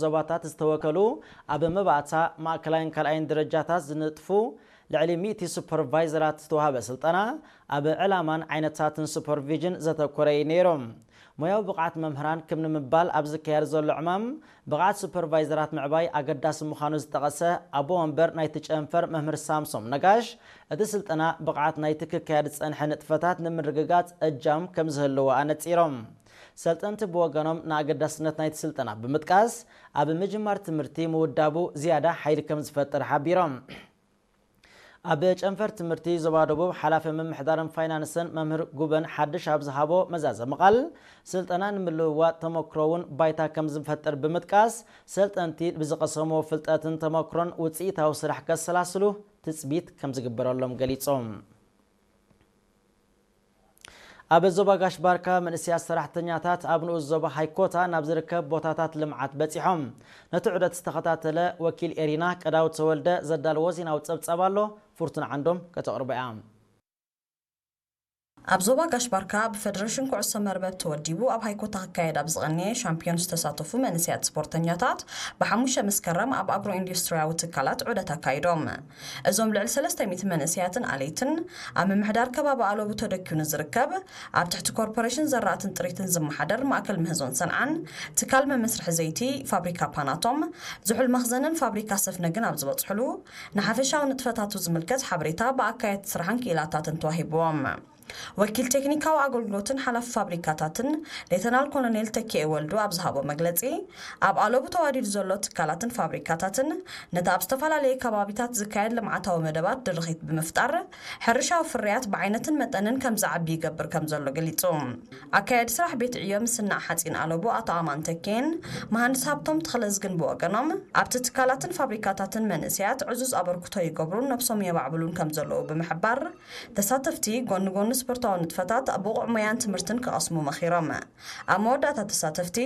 ዞባታት ዝተወከሉ ኣብ መባእታ ማእከላይን ካልኣይን ደረጃታት ዝንጥፉ ልዕሊ ሚእቲ ሱፐርቫይዘራት ዝተዋህበ ስልጠና፣ ኣብ ዕላማን ዓይነታትን ሱፐርቪዥን ዘተኮረ እዩ ነይሩ። ሞያዊ ብቕዓት መምህራን ክም ንምባል ኣብ ዝካየድ ዘሎ ዕማም፣ ብቕዓት ሱፐርቫይዘራት ምዕባይ ኣገዳሲ ምዃኑ ዝጠቐሰ ኣቦ ወንበር ናይቲ ጨንፈር መምህር ሳምሶም ነጋሽ፣ እቲ ስልጠና ብቕዓት ናይቲ ክካየድ ዝጸንሐ ንጥፈታት ንምርግጋጽ እጃም ከም ዝህልዎ ኣነጺሮም። ሰልጠንቲ ብወገኖም ንኣገዳስነት ናይቲ ስልጠና ብምጥቃስ፣ ኣብ ምጅማር ትምህርቲ ምውዳቡ ዝያዳ ሓይሊ ከም ዝፈጥር ሓቢሮም። ኣብ ጨንፈር ትምህርቲ ዞባ ደቡብ ሓላፊ ምምሕዳርን ፋይናንስን መምህር ጉበን ሓድሽ ኣብ ዝሃቦ መዛዘሚ ቃል፣ ስልጠና ንምልውዋጥ ተመክሮ እውን ባይታ ከም ዝፈጥር ብምጥቃስ፣ ሰልጠንቲ ብዝቐሰምዎ ፍልጠትን ተመክሮን ውፅኢታዊ ስራሕ ከሰላስሉ ትፅቢት ከም ዝግበረሎም ገሊፆም። ኣብ ዞባ ጋሽ ባርካ መንእሰያት ሰራሕተኛታት ኣብ ንኡስ ዞባ ሃይኮታ ናብ ዝርከብ ቦታታት ልምዓት በጺሖም። ነቲ ዑደት ዝተኸታተለ ወኪል ኤሪና ቀዳው ተወልደ ዘዳለዎ ዜናዊ ጸብጻብ ኣሎ፣ ፍርቱን ዓንዶም ከተቕርቦ እያ። ኣብ ዞባ ጋሽ ባርካ ብፈደረሽን ኩዕሶ መርበብ ተወዲቡ ኣብ ሃይኮታ ክካየድ ኣብ ዝቐነየ ሻምፒዮን ዝተሳተፉ መንእሰያት ስፖርተኛታት ብሓሙሽተ መስከረም ኣብ ኣግሮ ኢንዱስትሪያዊ ትካላት ዑደት ኣካይዶም። እዞም ልዕሊ ሰለስተ ሚእቲ መንእሰያትን ኣለይትን ኣብ ምምሕዳር ከባቢ ኣለቡ ተደኪኑ ዝርከብ ኣብ ትሕቲ ኮርፖሬሽን ዘራእትን ጥሪትን ዝመሓደር ማእከል ምህዞን ሰንዓን ትካል መመስርሒ ዘይቲ ፋብሪካ ፓናቶም ዝሑል መኽዘንን ፋብሪካ ሰፍነግን ኣብ ዝበጽሕሉ ንሓፈሻዊ ንጥፈታቱ ዝምልከት ሓበሬታ ብኣካየድቲ ስራሕን ክኢላታትን ተዋሂብዎም። ወኪል ቴክኒካዊ ኣገልግሎትን ሓላፊ ፋብሪካታትን ሌተናል ኮሎኔል ተኪኤ ወልዱ ኣብ ዝሃቦ መግለጺ፣ ኣብ ኣለቡ ተዋዲዱ ዘሎ ትካላትን ፋብሪካታትን ነቲ ኣብ ዝተፈላለየ ከባቢታት ዝካየድ ልምዓታዊ መደባት ድርኺት ብምፍጣር፣ ሕርሻዊ ፍርያት ብዓይነትን መጠንን ከም ዝዓቢ ይገብር ከም ዘሎ ገሊጹ። ኣካያዲ ስራሕ ቤት ዕዮ ምስናዕ ሓጺን ኣለቡ ኣቶ ኣማን ተኬን መሃንድስ ሃብቶም ተኽለዝግን ብወገኖም፣ ኣብቲ ትካላትን ፋብሪካታትን መንእሰያት ዕዙዝ ኣበርክቶ ይገብሩን ነብሶም የማዕብሉን ከም ዘለዉ ብምሕባር፣ ተሳተፍቲ ጎኒ ጎኒ ስፖርታዊ ንጥፈታት ብቑዕ ሞያን ትምህርትን ክቐስሙ መኺሮም። ኣብ መወዳእታ ተሳተፍቲ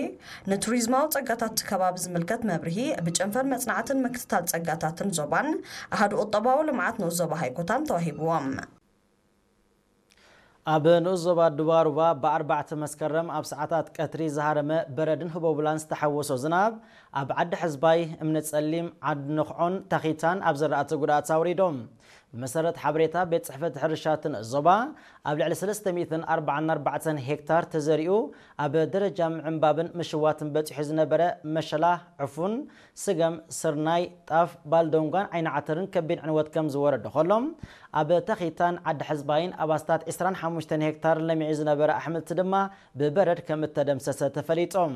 ንቱሪዝማዊ ጸጋታት እቲ ከባቢ ዝምልከት መብርሂ ብጨንፈር መጽናዕትን ምክትታል ጸጋታትን ዞባን ኣሃዱ ቁጠባዊ ልምዓት ንኡስ ዞባ ሃይኮታን ተዋሂብዎም። ኣብ ንኡስ ዞባ ዱባሩባ ብኣርባዕተ መስከረም ኣብ ሰዓታት ቀትሪ ዝሃረመ በረድን ህቦብላን ዝተሓወሶ ዝናብ ኣብ ዓዲ ሕዝባይ፣ እምኒ ጸሊም፣ ዓዲ ንኽዖን ታኺታን ኣብ ዘራእቲ ጉድኣት ኣውሪዶም። ብመሰረት ሓበሬታ ቤት ጽሕፈት ሕርሻ እቲ ንኡስ ዞባ፣ ኣብ ልዕሊ ሰለስተ ሚእትን ኣርባዓን ኣርባዕተን ሄክታር ተዘሪኡ ኣብ ደረጃ ምዕንባብን ምሽዋትን በጺሑ ዝነበረ መሸላ፣ ዕፉን፣ ስገም፣ ስርናይ፣ ጣፍ፣ ባልዶንጓን ዓይኒ ዓተርን ከቢድ ዕንወት ከም ዝወረዶ ከሎም፣ ኣብ ተኺታን ዓዲ ሕዝባይን ኣብ ኣስታት ዕስራን ሓሙሽተን ሄክታር ለሚዑ ዝነበረ ኣሕምልቲ ድማ ብበረድ ከም እተደምሰሰ ተፈሊጦም።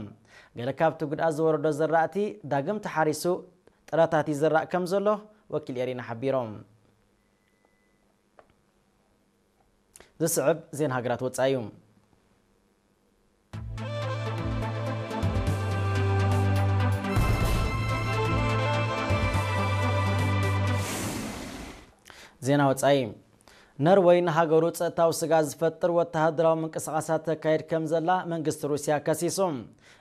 ገለ ካብቲ ጉድኣት ዝወረዶ ዘራእቲ ዳግም ተሓሪሱ ጥረታት ይዝራእ ከም ዘሎ ወኪል ኤሪና ሓቢሮም። ዝስዕብ ዜና ሃገራት ወጻኢ እዩ። ዜና ወጻኢ። ነርወይ ንሃገሩ ጸጥታዊ ስግኣት ዝፈጥር ወተሃደራዊ ምንቅስቓሳት ተካይድ ከም ዘላ መንግስቲ ሩስያ ከሲሱ።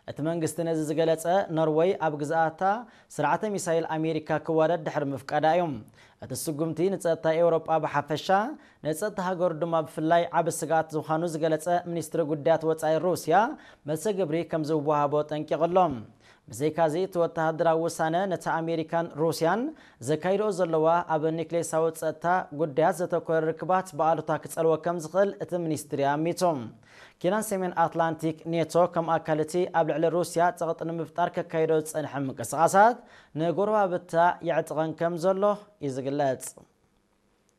እቲ መንግስቲ ነዚ ዝገለጸ፣ ነርወይ ኣብ ግዝኣታ ስርዓተ ሚሳይል ኣሜሪካ ክዋደድ ድሕሪ ምፍቃዳ እዩ። እቲ ስጉምቲ ንጸጥታ ኤውሮጳ ብሓፈሻ፣ ንጸጥታ ሃገሩ ድማ ብፍላይ ዓቢ ስግኣት ዝዃኑ ዝገለጸ ሚኒስትሪ ጉዳያት ወጻኢ ሩስያ፣ መልሰ ግብሪ ከም ዝወሃቦ ጠንቂቑ ኣሎ። ብዘይካዚ፣ እቲ ወተሃደራዊ ውሳነ ነቲ ኣሜሪካን ሩስያን ዘካይድኦ ዘለዋ ኣብ ኒክሌሳዊ ጸጥታ ጉዳያት ዘተኮረ ርክባት ብኣሉታ ክጸልዎ ከም ዝኽእል እቲ ሚኒስትሪ ኣሚቱ። ኪዳን ሰሜን ኣትላንቲክ ኔቶ ከም ኣካል እቲ ኣብ ልዕሊ ሩስያ ጸቕጢ ንምፍጣር ከካይዶ ዝጸንሐ ምንቅስቓሳት ንጎረባብታ የዕጥቐን ከም ዘሎ እዩ ዝግለጽ።